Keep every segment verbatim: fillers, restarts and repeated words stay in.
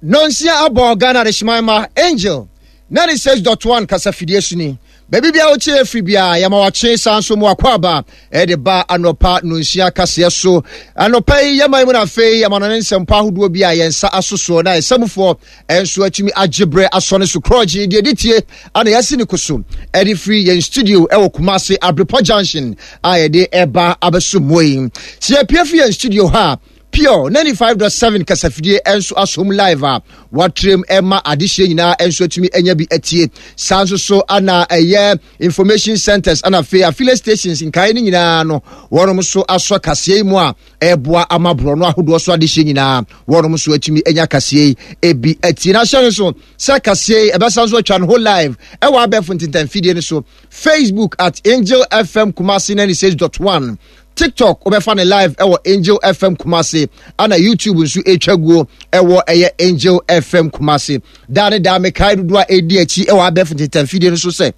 Nonsia abɔ Ghana Adehyeman ma Angel ninety-six point one kasafidie so ni. Baabi bia wokyɛ afiri bia, yɛma wakye saa nso mu akɔ aba ɛde ba anɔpa nonsia kaseɛ so. Anɔpa yi yɛma yi mu no, afei yɛma no ne nsɛmpa ahodoɔ bi a yɛn nsa asosoɔ na ɛsɛmufoɔ ɛnso atumi agye berɛ asɔ ne so korɔgye deɛ de tie ana yɛasi ne ko so ɛde firi yɛn studio ɛwɔ Kumase Abrepɔ Junction a yɛde ɛba abɛso mmoa yi. Sɛ yɛpie firi yɛn studio ha a, Pure ninety-five point seven kasafidie nso asom live a watrem ɛma adehyɛ nyinaa nso atumi anya bi atie. Saa nso so ana ɛyɛ information centers ana afei affiliate stations nkae no nyinaa no, wɔnom nso asɔ kaseɛ yi mu a ɛboa ama borɔno ahodoɔ so adehyɛ nyinaa wɔnom nso atumi anya kaseɛ yi ebi atie. Na ahyɛ no so sɛ kaseɛ yi ɛbɛsa nso atwa no ho live ɛwɔ abɛɛfo ntentanfidie no so, Facebook at Angel F M Kumasi ninety-six point one, TikTok wobɛfa ne live ɛwɔ Angel F M Kumase, ana YouTube nso ɛtwa guo ɛwɔ ɛyɛ Angel F M Kumase. Daa ne daa mekae dodoɔ a ɛdi akyi ɛwɔ abɛɛfo ntentanfidie no so sɛ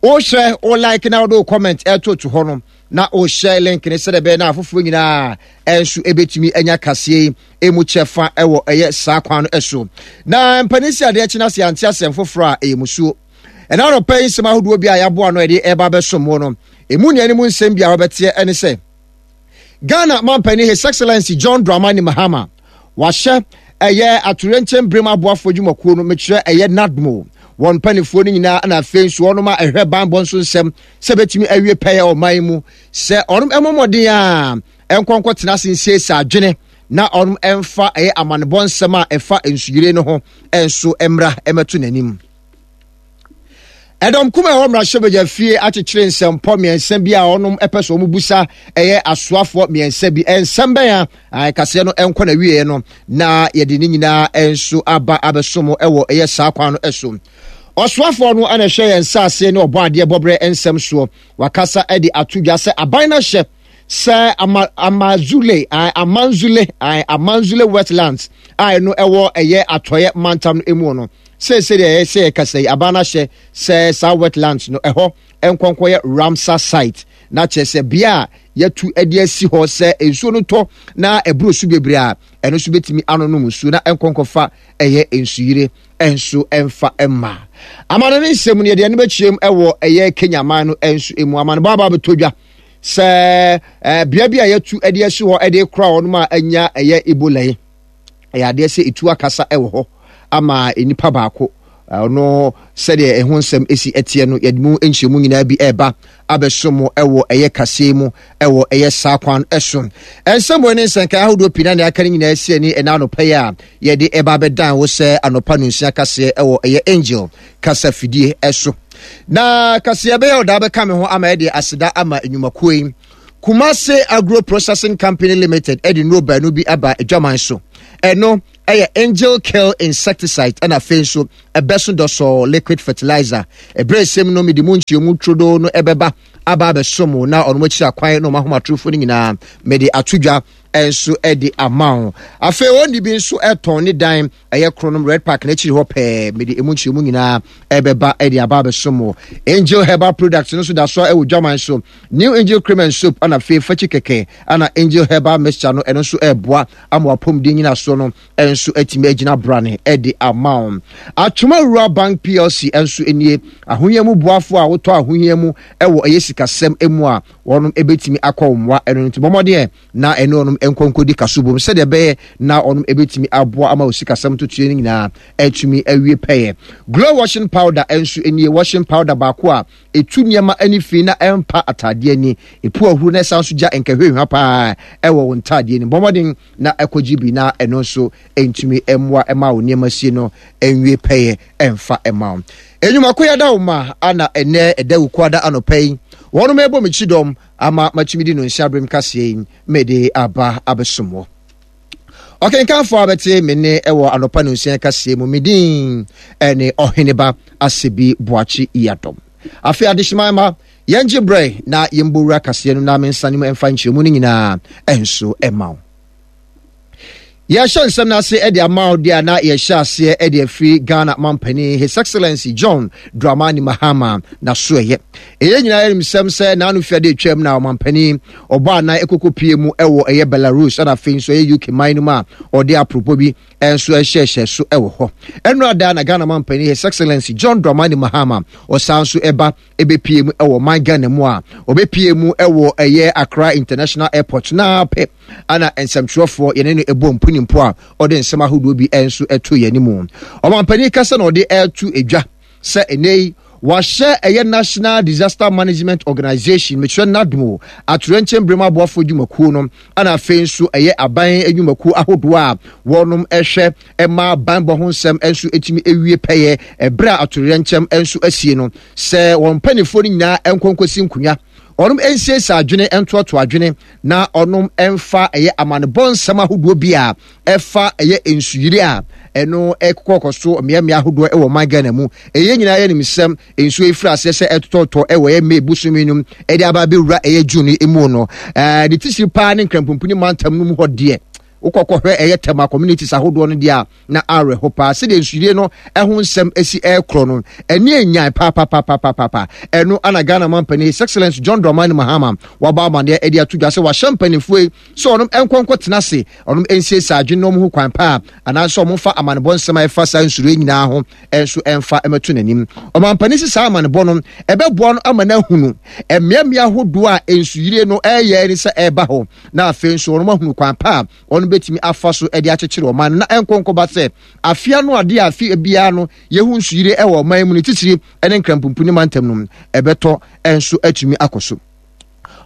wohyɛ wo like na wode wo comment ɛto to hɔ no na wohyɛ link ne sɛdeɛ ɛbɛyɛ na afoforɔ nyinaa ɛnso ɛbɛtumi anya kaseɛ yi ɛmu kyɛfa ɛwɔ ɛyɛ saa kwan no ɛso. Na mpanin si adeɛ kyena se ante asɛm foforɔ a ɛyɛ musuo. Ɛna anɔpɛ yi nsɛm ahodoɔ bi a yɛaboa no ɛde ɛba bɛsom wo no, ɛmu nea mu nsɛm bi a wɔbɛteɛ ɛne sɛ Ghana mampanin His Excellency John Dramani Mahama wahyɛ ɛyɛ atoyerɛnkyɛm berem aboafoɔ dwumakuo no, mekyerɛ ɛyɛ NADMO, wɔn mpanimfoɔ no nyinaa na afei nso wɔnom a ɛhwɛ banbɔ nso nsɛm sɛ bɛtumi awie pɛyɛ ɔman mu sɛ ɔnom ɛmmɔ mmɔden a ɛnkɔnkɔ tena ase nsiesie adwene na ɔnom ɛmfa ɛyɛ amanebɔ nsɛm a ɛfa nsuyire no ho ɛnso mmra ɛmɛto n'anim. Ɛdɔm kum a ɛwɔ mmarahyɛbadwa fie akyekyere nsɛmpɔ mmiɛnsa bi a ɔnom ɛpɛ sɛ wɔn busa ɛyɛ asoafoɔ mmiɛnsa bi. Nsɛm bɛn a kaseɛ no ɛnkɔ na wieɛ no na yɛde ne nyinaa nso aba abɛsom ɛwɔ ɛyɛ saa kwan no ɛso. Ɔsoafoɔ no ɛna ɛhwɛ yɛn nsaase ne ɔbɔ adeɛ bɔberɛ nsɛm soɔ wakasa ɛde ato dwa sɛ aban no ahyɛ sɛ ama amazule Amanzule Amanzule Wetlands a ɛno ɛwɔ ɛyɛ atɔeɛ mantam no emu no, seesei deɛ ɛyɛ sɛ yɛkasa yi, aban no ahyɛ sɛ saa wetlands no ɛhɔ nkɔnkɔ yɛ Ramsar site, na kyerɛ sɛ bea a yɛtu de asi hɔ sɛ nsuo no tɔ na ɛboro so bebree a, ɛno nso bɛtumi anonom nsuo na nkɔnkɔfa ɛyɛ nsuyire nso ɛmfa mma. Amano ne nsɛm no yɛde ɛno bɛkyerɛm ɛwɔ ɛyɛ Kenya man no nso emu amano baaba bɛtɔ dwa sɛ ɛɛ bea bi a yɛtu de asi hɔ de kora wɔn a anya ɛyɛ Ebola yi, ɛyɛ adeɛ sɛ etu akasa ɛwɔ hɔ ama nipa baako. Ɔno sɛdeɛ ɛho nsɛm esi ɛteɛ no, yɛde mu nkyɛnmu nyinaa bi ɛreba abɛso mu ɛwɔ ɛyɛ kaseɛ mu ɛwɔ ɛyɛ saa kwan ɛso. Nsɛm wɔ ne nsɛnka ahodoɔ pii na nea aka no nyinaa si ani ɛna anɔpa yi a yɛde ɛba abɛdan wo sɛ anɔpa no nsia kaseɛ ɛwɔ ɛyɛ Angel kasa fidie ɛso. Na kaseɛ bɛyɛ ɔdaa bɛka me ho ama ɛde aseda ama nnwumakuo yi. Kumase Agro Processing Company Limited ɛde nnuro baanu bi aba adwaman so. Ɛno ɛyɛ Angel Kill insecticide ɛna afei nso ɛbɛso dɔsɔɔ liquid fertilizer. Ɛberɛ esɛm no mede mu nkyerɛmu turodoo no ɛbɛba aba abɛsom na ɔno akyiri akwan na ɔmo ahomatorofo no nyinaa mede ato dwa nso ɛde ama wo. Afei wɔn bi nso ɛtɔn ne dan ɛyɛ Kronom Red Park n'akyiri hɔ pɛɛ. Mede emu nkyerɛmu nyinaa ɛbɛba ɛde aba abɛsom wo. Angel Herbal Products no nso da so ɛwɔ dwaman so. New Angel Cream and Soap ɛna afei fakyi kɛkɛ ɛna Angel Herbal Mixture no, ɛno nso ɛɛboa ama wapɔmuden nyinasoɔ no ɛnso atumi agyina brane ɛde ama wo. Atwoma Rural Bank P L C ɛnso nie, ahohia mu boafo a wotɔ ahohia mu ɛwɔ ɛyɛ sikasɛm mu a wɔnom ɛbɛtumi akɔ wo mmoa. Ɛno nti bɔmmɔdeɛ na ɛne ɔnom nkɔnkɔdi kaso bom sɛdeɛ ɛbɛyɛ na ɔnom ɛbɛtumi aboa ama wo sikasɛm totoɛ no nyinaa ɛtumi awie pɛyɛ. Glow washing powder ɛnso nie, washing powder baako a ɛtu nneɛma ani fi na ɛmpa ataadeɛ ani, ɛpu ahuru na ɛsan so gya nkɛhwehwɛ paa ɛwɔ wo ntaadeɛ no. Bɔmmɔden na ɛkɔgye bi na ɛno nso ɛntumi mmoa ɛma wo nneɛma sie no ɛnwie pɛyɛ ɛmfa ɛma wo. Enwumako yɛda wo ma ana ɛnɛ ɛda wukuada anɔpa yi wɔnom ɛbɔ me kyidɔm ama matumi di no nhyɛ aberem kaseɛ yi mede aba abɛsom wɔ. Ɔkenkanfoɔ a bɛte me ne ɛwɔ anɔpa no nsia kaseɛ mu, me din ɛne Ɔheneba Asebi Boakye Yadɔm. Afei adehyeman ma yɛngye berɛ na yɛmbɔwura kaseɛ no na mensane mu ɛmfa nkyerɛmu no nyinaa ɛnso ɛma wo. Yɛhyɛ nsɛm no ase de ama wo deɛ a, na yɛhyɛ aseɛ de afiri Ghana mampanin His Excellency John Dramani Mahama na so ɛyɛ. Ɛyɛ nyinaa yɛnim sɛm sɛ n'ano fiade atwam na ɔmampanin ɔbɔ anan ɛkɔkɔ pie mu ɛwɔ ɛyɛ Belarus, ɛna afei nso ɛyɛ U K man no mu a ɔde aporopɔ bi nso ɛhyɛhyɛ so ɛwɔ hɔ. Ɛno ada na Ghana mampanin His Excellency John Dramani Mahama ɔsan so ɛba ɛbɛpie mu ɛwɔ man Ghana mu a ɔbɛpie mu ɛwɔ ɛyɛ Accra International Airport na pɛ ana nsɛmtwerɛfoɔ yɛne no ɛbɔ mpunimpo a ɔde nsɛm ahodoɔ bi nso ɛto yɛn anim. Ɔmampanin kasa na ɔde ɛto edwa sɛ ɛnɛ yi wahyɛ ɛyɛ National Disaster Management Organization, mekyerɛ NADMO, atorɛnkyɛn berɛ mu aboafoɔ dwumakuo no, ana afei nso ɛyɛ aban adwumakuo ahodoɔ a wɔnom ɛhwɛ ɛma banbɔ ho nsɛm nso ɛtumi ewie pɛyɛ ɛberɛ a atorɛnkyɛm nso asie no, sɛ wɔn mpanimfoɔ no nyinaa nkɔnkɔsi nkonnwa, ɔnom nsiesie adwene, ntoatoa adwene, na ɔnom mfa ɛyɛ amanebɔ nsɛm ahodoɔ bi a ɛfa ɛyɛ nsuyiri a ɛno ɛkɔkɔ so mmeammea ahodoɔ ɛwɔ ɔman Ghana mu. Ɛyɛ nyinaa yɛ nimsɛm, nsuo yi firi aseɛ sɛ ɛtotɔtɔ ɛwɔ ɛyɛ May bosome no ɛde aba abɛwura ɛyɛ June mu no, ɛɛ ne titiri paa ne Nkranpumpuni mantam no mu hɔ deɛ, wokɔkɔhwɛ ɛyɛ Tema communities ahodoɔ no deɛ a, na awerɛho paa sɛdeɛ nsuyire no ɛho nsɛm asi ɛrekorɔ no, ɛne enyan paapaapaapapa. Ɛno ana Ghana mampanin His Excellence John Dramani Mahama wabɔ amaneɛ ɛde ato dwa sɛ wahyɛ mpanimfoɔ yi sɛ ɔnom nkɔnkɔ tena ase, ɔnom nsiesie adwene na ɔmo ho kwan paa anaasɛ ɔmo mfa amanebɔ nsɛm a ɛfa saa nsuyire nyinaa ho ɛnso ɛmfa ɛmɛto n'anim. Ɔmampanin si saa amanebɔ no ɛbɛboa no ama no ahunu mmeammea ahodoɔ a nsuyire no ɛyɛ ne sɛ ɛreba hɔ, na afei nso ɔnom ahunu kwan pa a ɔno bɛtumi afa so de akyekyere ɔman no na ɛnkɔnkɔba sɛ afea no adeɛ a afe biara no yɛhu nsuyire wɔ ɔman mu no, titiri ne Nkrampumpuni mantam no ɛbɛtɔ nso atumi akɔ so.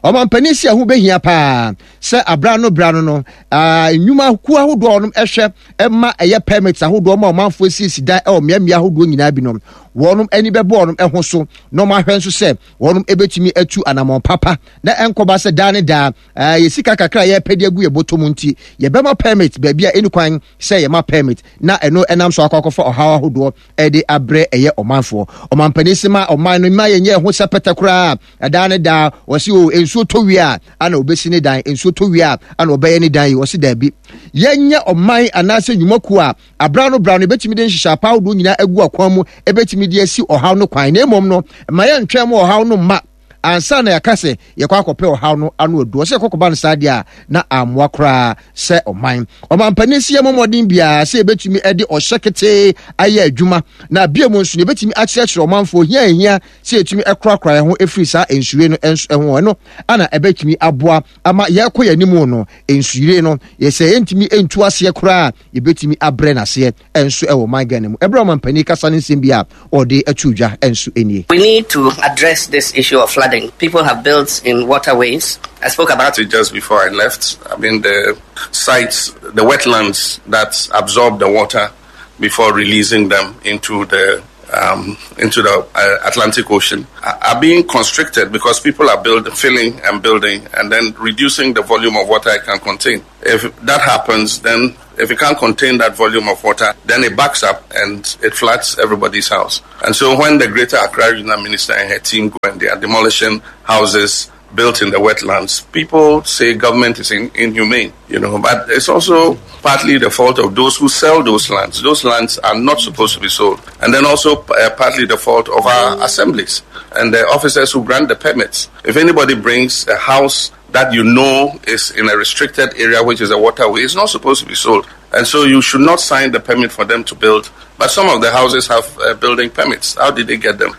Ɔmampanin si ɛho bɛhia paa sɛ abra no bra no no nnwuma kuo ahodoɔ a ɔnom ɛhwɛ ɛma ɛyɛ permits ahodoɔ ma ɔmanfoɔ siesie dan ɛwɔ mmeammea ahodoɔ nyinaa bi no, wɔnom ani bɛbɔ wɔnom ɛho so na ɔmo ahwɛ nso sɛ wɔnom ɛbɛtumi atu anammɔn papa na ɛnkɔba sɛ daa ne daa yɛ sika kakra a yɛpɛ de agu yɛ bɔtɔ mu nti yɛbɛma permit baabi a ɛni kwan sɛ yɛma permit, na ɛno ɛnam so akɔ akɔfa ɔhaw ahodoɔ ɛde abrɛ ɛyɛ ɔmanfoɔ. Ɔmampanin si ma ɔman no ma yɛnyɛ ɛho sɛ pɛtɛ koraa, ɛdaa ne daa wɔsi o nsuo tɔ wie a ana obesi ne dan, nsuo tɔ wie a ana ɔbɛyɛ ne dan yi. Wɔsi daabi, yɛnyɛ ɔman anaasɛ nnwumakuo a abra no bra no ebɛtumi de nhyehyɛ apa ahodoɔ nyinaa agu akwan mu, ebɛtumi de asi ɔhaw no kwan, na emom no ma yɛntwɛn mu ɔhaw no mma ansa na yɛaka sɛ yɛkɔ akɔpɛ ɔhaw no ano aduo. Sɛ yɛkɔkɔba no saa deɛ a, na ammoa koraa sɛ ɔman. Ɔmampanin si yɛ mmɔden biara sɛ yɛbɛtumi de ɔhyɛ ketee ayɛ adwuma, na bia mu nso yɛbɛtumi akyerɛkyerɛ ɔmanfoɔ hia hia sɛ yɛtumi korakora yɛn ho ɛfiri saa nsuyire no nso ho. Ɛno ana ɛbɛtumi aboa ama yɛkɔ yɛn anim no, nsuyire no yɛsɛ yɛntumi ntu aseɛ koraa, yɛbɛtumi abrɛ n'aseɛ nso ɛwɔ man Ghana mu. Ɛberɛ ɔmampanin kasa ne nsɛm bi a ɔde ato dwa nso nie. We need to address this issue of flooding. People have built in waterways. I spoke about it just before I left. I mean, the sites, the wetlands that absorb the water before releasing them into the um, into the uh, Atlantic Ocean are being constricted because people are building, filling and building, and then reducing the volume of water it can contain. If that happens, then if it can't contain that volume of water, then it backs up and it floods everybody's house. And so when the Greater Accra Regional Minister and her team go and they are demolishing houses built in the wetlands, people say government is in, inhumane, you know, but it's also partly the fault of those who sell those lands. Those lands are not supposed to be sold. And then also uh, partly the fault of our assemblies and the officers who grant the permits. If anybody brings a house that you know is in a restricted area, which is a waterway, it's not supposed to be sold. And so you should not sign the permit for them to build. But some of the houses have uh, building permits. How did they get them?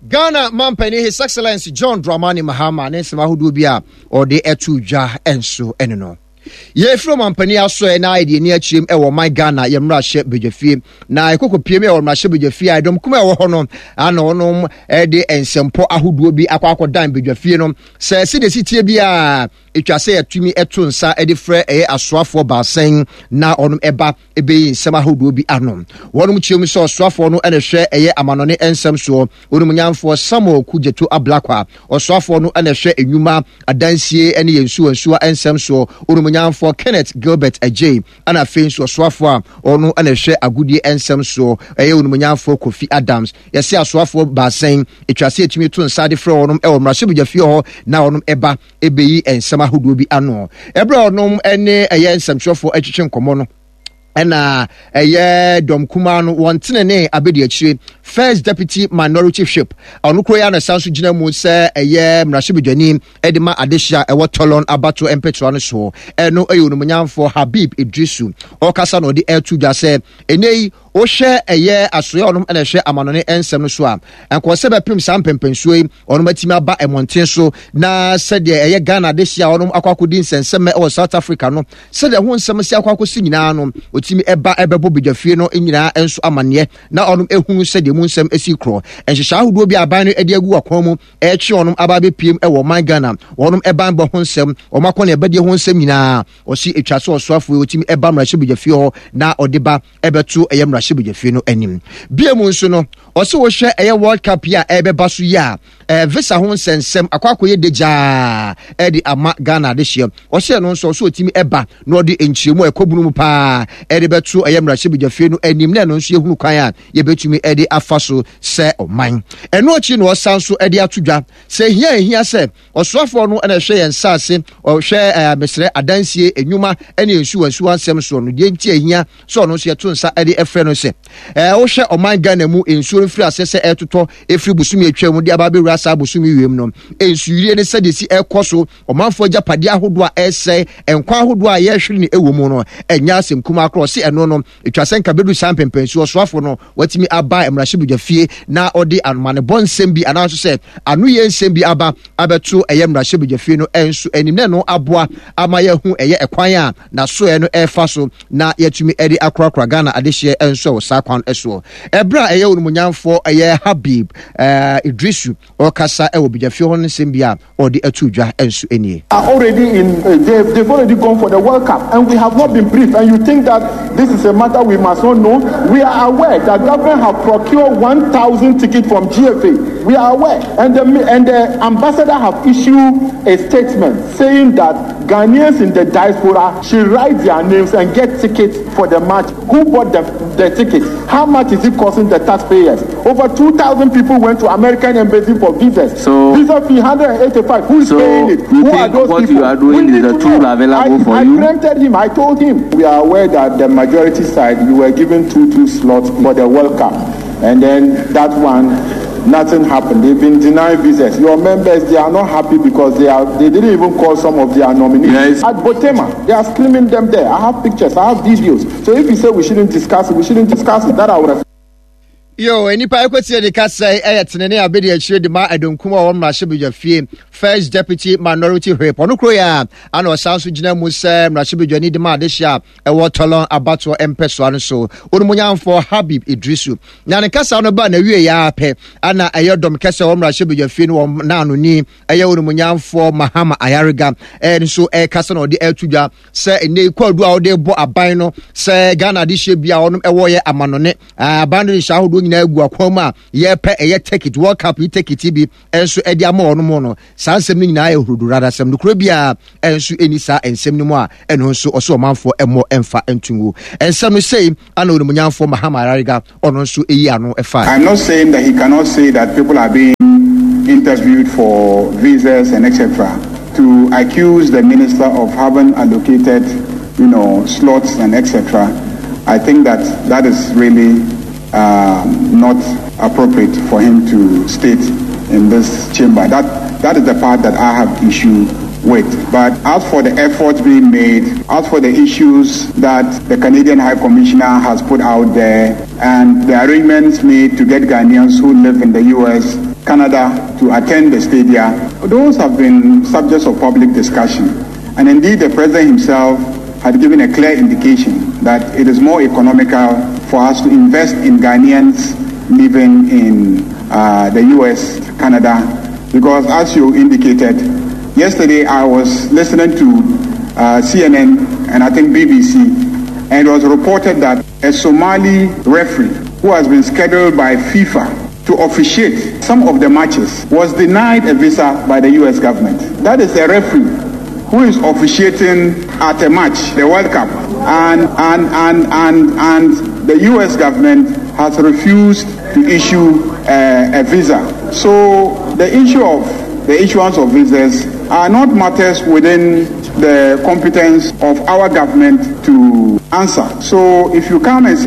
Ghana mampanin His Excellency John Dramani Mahama ne nsɛm ahodoɔ bi a ɔde ɛto dwa nso ɛno no. Yɛfiri ɔmampanin aso na ayɛ deɛ ani akyerɛm ɛwɔ ɔman Ghana yɛ mmarahyɛ badwafie, na ɛkɔkɔ pie mu ɛwɔ mmarahyɛ badwafie a ɛdɔm kuma ɛwɔ hɔ no ana ɔnom ɛde nsɛmpɔ ahodoɔ bi akɔ akɔdan badwafie no sɛ sɛdeɛ si tie bi a ɛtwa sɛ yɛtumi ɛto nsa ɛde frɛ ɛyɛ asoafoɔ baasɛn na ɔnom ɛba ɛbɛyi nsɛm ahodoɔ bi ano. Wɔnom kyerɛ mu sɛ ɔsoafoɔ no ɛna hwɛ ɛyɛ amanɔne nsɛm soɔ, onimnyamfoɔ Samuel Kudzeto Ablakwa; ɔsoafoɔ no ɛna hwɛ enwuma adansie ne yɛn nsuwa nsuwa nsɛm soɔ, onimnyamfoɔ Kenneth Gilbert Adjei; ɛna afei nso ɔsoafoɔ a ɔno ɛna hwɛ agodie nsɛm soɔ, ɛyɛ onimnyamfoɔ Kofi Adams. Yɛsɛ asoafoɔ baasɛn ɛtwa sɛ yɛtumi to nsa de frɛ wɔnom ɛwɔ mmarahyɛbadwafie hɔ na wɔnom ɛba ɛbɛyi nsɛm nsɛm ahodoɔ bi ano. Ɛberɛ a ɔnom ne ɛyɛ nsɛmtwerɛfoɔ atwitwe nkɔmmɔ no, ɛna ɛyɛ dɔm kumaa no wɔn tenene abɛdi akyire first deputy minority whip, ɔno kuro yi ana san so gyina mu sɛ ɛyɛ mmarahyɛbadwani de ma adehyɛ a ɛwɔ Tolon abato mpɛtoa no soɔ, ɛno ɛyɛ onumonyamfoɔ Habib Idrisu. Ɔkasa na ɔde ɛto dwa sɛ ɛnɛ yi wohwɛ ɛyɛ asoɛ ɔnom ɛna ɛhwɛ amanɔne nsɛm no so a, nkɔɔ sɛ bɛpem saa mpɛmpɛnsuo yi ɔnom atumi aba mmɔnten so na sɛdeɛ ɛyɛ Ghana adehyɛ a ɔnom akɔ akɔdi nsɛnsɛmɛ ɛwɔ South Africa no, sɛdeɛ ho nsɛm si akɔ akɔsi nyinaa no, ɔtumi ɛba ɛbɛbɔ badwafie no nyinaa nso amanneɛ na ɔnom ehunu sɛdeɛ mu nsɛm esi korɔ. Nhyehyɛ ahodoɔ bi aban no de agu akwan mu ɛretwe ɔnom aba abɛpiem ɛwɔ ɔman Ghana, wɔnom ɛban bɔ ho nsɛm, wɔn akɔ ne ɛbɛdeɛ ho nsɛm nyinaa, ɔsi etwa so ɔsoafoɔ yi ɔtumi ɛba mmarahyɛbadwafie hɔ na ɔde ba ɛbɛto ɛyɛ mmarahyɛbadwafie no anim. Bie mu nso no, ɔsi wɔhwɛ ɛyɛ World Cup yi a ɛrebɛba so yi a, ɛɛ visa ho nsɛnsɛm akɔ akɔyɛ degyaa ɛde ama Ghana adehyeɛ. Ɔhyɛ no nso ɔso ɔtumi ɛba na ɔde nkyerɛmu a ɛkɔ bunu mu paa ɛde bɛto ɛyɛ mmarahyɛbadwafie no anim na ɛno nso yɛhunu kwan a yɛbɛtumi ɛde afa so sɛ ɔman. Ɛno akyi na ɔsan so ɛde ato dwa sɛ ehia ehia sɛ ɔsoafoɔ no ɛna ɛhwɛ yɛn nsaase, ɔhwɛ ɛɛ mesrɛ adansie enwuma ɛne nsuwa nsuwa nsɛm soɔ no, deɛ nti ehia sɛ ɔno nso yɛto nsa ɛde ɛfrɛ no sɛ ɛɛ wohwɛ ɔman Ghana mu nsuo no firi aseɛ sɛ ɛtotɔ efiri bosomi atwa mu de aba abɛwura saa bosomi wiem no, nsuyire ne sɛdeɛ si ɛkɔ so, ɔmanfoɔ agyapadeɛ ahodoɔ a ɛsɛe, nkwa ahodoɔ a yɛrehwere ne ɛwɔ mu no, ɛnyɛ asɛm kumaa korɔ. Ɔse ɛno no etwa sɛ nka bɛdu saa mpɛmpɛnsuo ɔsoafo no watumi aba mmarahyɛbadwafie na ɔde amanebɔ nsɛm bi anaasɛ sɛ ano yɛ nsɛm bi aba abɛto ɛyɛ mmarahyɛbadwafie no ɛnso anim na ɛno aboa ama yɛahu ɛyɛ ɛkwan a n'asoɛ no ɛrefa so na yɛatumi ɛde akorakora Ghana adehyeɛ ɛnso ɛwɔ saa kwan ɛsoɔ. Ɛberɛ a ɛyɛ onimonyamfoɔ ɛyɛ Habib ɛɛ Idrisu ɔkasa ɛwɔ badwafie hɔ no, nsɛm bi a ɔde ato dwa nso nie. Are already in, uh, they've, they've already gone for the World Cup, and we have not been briefed. And you think that this is a matter we must not know? We are aware that government have procured one thousand tickets from G F A. We are aware. And the, and the ambassador have issued a statement saying that Ghanaians in the diaspora should write their names and get tickets for the match. Who bought the, the tickets? How much is it costing the taxpayers? Over two thousand people went to American embassy for visas. So, visa fee one hundred eighty-five. Who is so paying it? You Who think are those what people? you are doing We is need the to tool know. available I, for I you? Preempted him. I told him. We are aware that the majority side, you were given two two slots for the World Cup. And then that one, nothing happened. They've been denied visas. Your members, they are not happy because they are they didn't even call some of their nominees. Yes. At Borteyman, they are screaming them there. I have pictures, I have videos. So if you say we shouldn't discuss it, we shouldn't discuss it. That I would have Yo, nipa ekwetie de kasa ɛyɛ tenene abedi akyire de ma ɛdonkum a wɔn mmarahyɛbadwa first deputy minority whip, ɔno kuro yɛ a ana ɔsan so gyina mu sɛ mmarahyɛbadwani de ma adehyɛ a ɛwɔ Tolon abatoɔ mpɛsoa no so, onumonyamfoɔ Habib Idrisu. Na ne kasa no ba na wie yɛ apɛ ana ɛyɛ dɔm kɛsɛ wɔ mmarahyɛbadwa fie no wɔn naanoni ɛyɛ onumonyamfoɔ Mahama Ayariga ɛyɛ nso ɛrekasa na ɔde ɛreto dwa sɛ ɛnɛ kwadu a ɔde bɔ aban no sɛ Ghana adehyɛ bi a ɔnom ɛwɔ yɛ amanɔne, aban no nhyɛ ahodoɔ nyinaa gu akwan mu a yɛpɛ ɛyɛ ticket, World Cup yi ticket bi ɛnso ɛde ama wɔn mu no, saa nsɛm no nyinaa yɛ hurudurada asɛm no kuro biara ɛnso ɛni saa nsɛm no mu a ɛno nso ɔsɛ ɔmanfoɔ ɛmmɔ ɛmfa ntungu nsɛm no sei ana onimonyamfoɔ Mahama Ayariga ɔno nso ɛyi ano ɛfa. I'm not saying that he cannot say that people are being interviewed for visas and et cetera. To accuse the minister of having allocated, you know, slots and et cetera, I think that that is really um, not appropriate for him to state in this chamber. That that is the part that I have issue with. But as for the efforts being made, as for the issues that the Canadian High Commissioner has put out there, and the arrangements made to get Ghanaians who live in the U S, Canada to attend the stadia, those have been subjects of public discussion. And indeed, the president himself had given a clear indication that it is more economical for us to invest in Ghanaians living in uh, the U S, Canada, because as you indicated, yesterday I was listening to uh, C N N and I think B B C, and it was reported that a Somali referee who has been scheduled by FIFA to officiate some of the matches was denied a visa by the U S government. That is a referee who is officiating at a match, the World Cup, and and and and and the U S government has refused to issue uh, a visa. So the issue of the issuance of visas are not matters within the competence of our government to answer. So if you come and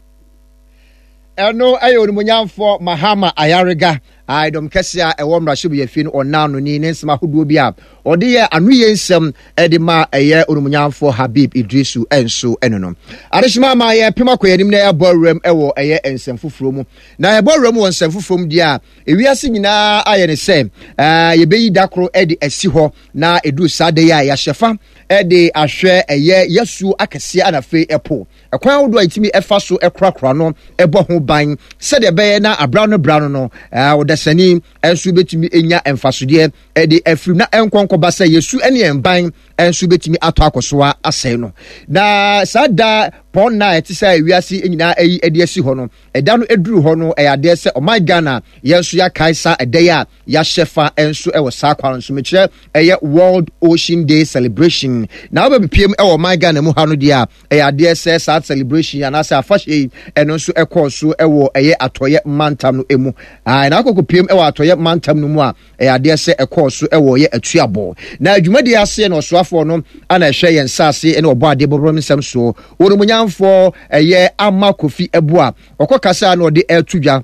Ɛno ɛyɛ Onimuonyamfoɔ Mahama Ayariga, a ɛdɔm kɛse a ɛwɔ mmarahyɛbadwafie no ɔnaa no ni ne nsɛm ahodoɔ bi a ɔde yɛ anoyie nsɛm de ma ɛyɛ Onimuonyamfoɔ Habib Idrisu nso ɛno no. Adehyema ama yɛpem akɔ yɛn anim na yɛabɔ awuram wɔ ɛyɛ nsɛm foforɔ mu. Na yɛbɔ awuram wɔ nsɛm foforɔ mu deɛ a, ewiase nyinaa ayɛ ne sɛ yɛbɛyi da koro de asi hɔ na ɛduru saa da yi a yɛahyɛ fa de ahwɛ ɛyɛ yasuo akɛseɛ ana afei ɛpo. Ɛkwan ahodoɔ a yɛtumi fa so korakora no bɔ ho ban sɛdeɛ ɛbɛyɛ na abra no bra no no ɔdasani nso bɛtumi anya mfasodeɛ de afiri na ɛnkɔnkɔba sɛ yɛsu ne yɛn ban nso bɛtumi atɔ akɔsoa asɛe no. Na saa da pɔn na ɛte sɛ wiase nyinaa ayi de asi hɔ no, ɛda no ɛduru hɔ no, ɛyɛ adeɛ sɛ ɔman Ghana yɛn nso yɛakae saa ɛda yi a yɛahyɛ fa nso wɔ saa kwan no so. Mekyerɛ ɛyɛ World Ocean Day celebration. Na wobɛbepiem wɔ ɔman Ghana mu ha no deɛ a, ɛyɛ adeɛ sɛ saa celebration anaasɛ afahyɛ yi ɛno nso ɛkɔɔ so wɔ ɛyɛ atɔeɛ mantam no mu. Na akɔkɔpiem wɔ atɔeɛ mantam no mu a, ɛyɛ adeɛ sɛ ɛkɔɔ so wɔ yɛ atuabɔ. Na dwumadie aseɛ na ɔsoafoɔ no ana ɛhwɛ yɛn nsaase ne ɔbɔ adeɛ bɔbɔm nsɛm soɔ, Onimuonyamfoɔ ɛyɛ Ama Kofi Abua, ɔkɔ kasa na ɔde ɛto dwa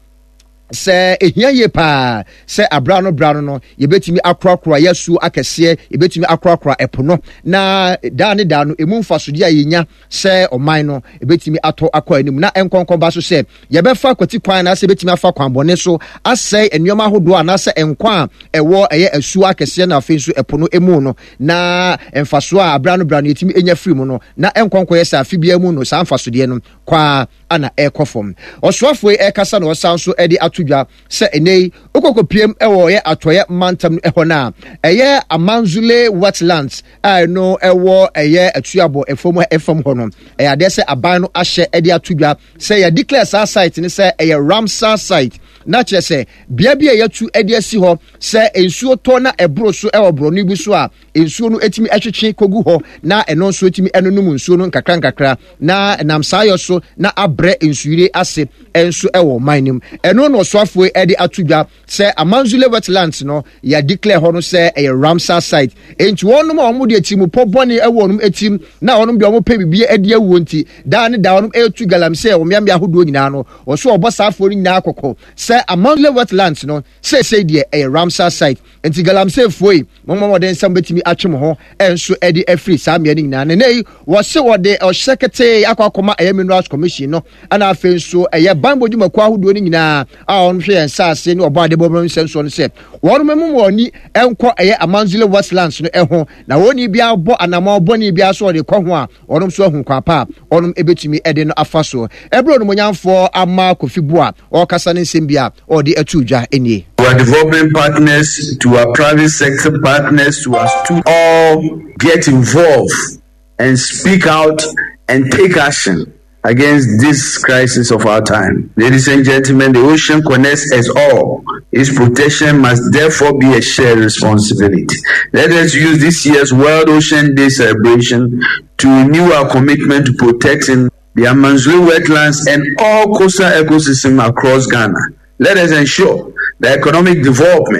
sɛ ehia yie paa sɛ abra no bra no no yɛbɛtumi akorakora yɛasuo akɛseɛ, yɛbɛtumi akorakora ɛpo no, na daa ne daa no emu mfasodeɛ a yɛnya sɛ ɔman no ɛbɛtumi atɔ akɔ anim, na nkɔnkɔba so sɛ yɛbɛfa kwati kwan anaasɛ yɛbɛtumi afa kwan bɔne so asɛe nneɛma ahodoɔ anaasɛ nkwa a ɛwɔ ɛyɛ asuo akɛseɛ na afei nso ɛpo no emu no, na mfasoɔ a abra no bra no yɛtumi nya firi mu no, na nkɔnkɔyɛ sɛ afe biara mu no saa mfasodeɛ no kwaa ana ɛrekɔ fam. Ɔsoafoɔ yi ɛrekasa na ɔsan nso de ato dwa sɛ ɛnɛ yi wokɔkɔpiem wɔ ɛyɛ atɔeɛ mantam no ɛhɔ no a ɛyɛ Amanzule Wetlands a ɛno ɛwɔ ɛyɛ Atuabɔ ɛfam ɛfam hɔ no, ɛyɛ adeɛ sɛ aban no ahyɛ de ato dwa sɛ yɛ declare saa site no sɛ ɛyɛ Ramsar site, na kyerɛ sɛ bea bi a yɛatu de asi hɔ sɛ nsuo tɔ na ɛboro so ɛwɔ borɔno bi so a nsuo no tumi twetwe kɔgu hɔ na ɛno nso tumi nonom nsuo no nkakra nkakra, na nam saa yɔ so na abrɛ nsuyire ase nso wɔ ɔman no mu. Ɛno na ɔsoafoɔ de ato dwa sɛ Amanzule Wetlands no yɛ declare hɔ no sɛ ɛyɛ Ramsar site. Enti wɔnom a wɔn de atirimupɔ bɔne wɔ wɔn tirim na wɔnom deɛ wɔn pɛ biribi adi awuo nti daa ne daa wɔnom ɛretu galamsey wɔ mmeammea ahodoɔ nyinaa no, wɔso wɔbɔ saa afoɔ no nyinaa kɔkɔ sɛ Amanzule Wetlands no seesei deɛ ɛyɛ Ramsar site. Nti galamseyfoɔ yi, mommɔ mmɔden sɛ mobɛtumi atwe mo ho nso de afiri saa mmea no nyinaa. Na nnɛ yi, wɔse wɔde ɔhyɛ ketee akɔ akɔma ɛyɛ Minerals Commission no, ɛna afei nso ɛyɛ banbɔ dwumakuo ahodoɔ no nyinaa a wɔhwɛ yɛn nsaase ne ɔbɔ adebɔ mu nsɛnsoɔ no sɛ wɔn mmu wɔn ani nkɔ ɛyɛ Amanzule Westlands no ho, na wɔn ni biara bɔ anamɔ bɔne biara so wɔde kɔ ho a, wɔn nso ahu kwan pa a wɔn bɛtumi de no afa soɔ. Ɛberɛ Onimuonyamfoɔ Ama Kofi Boa ɔrekasa ne nsɛm bi a ɔde ato dwa nie. To our development partners, to our private sector partners, to us to all get involved and speak out and take action against this crisis of our time. Ladies and gentlemen, the ocean connects us all. Its protection must therefore be a shared responsibility. Let us use this year's World Ocean Day celebration to renew our commitment to protecting the Amanzule wetlands and all coastal ecosystems across Ghana. Let us ensure that economic development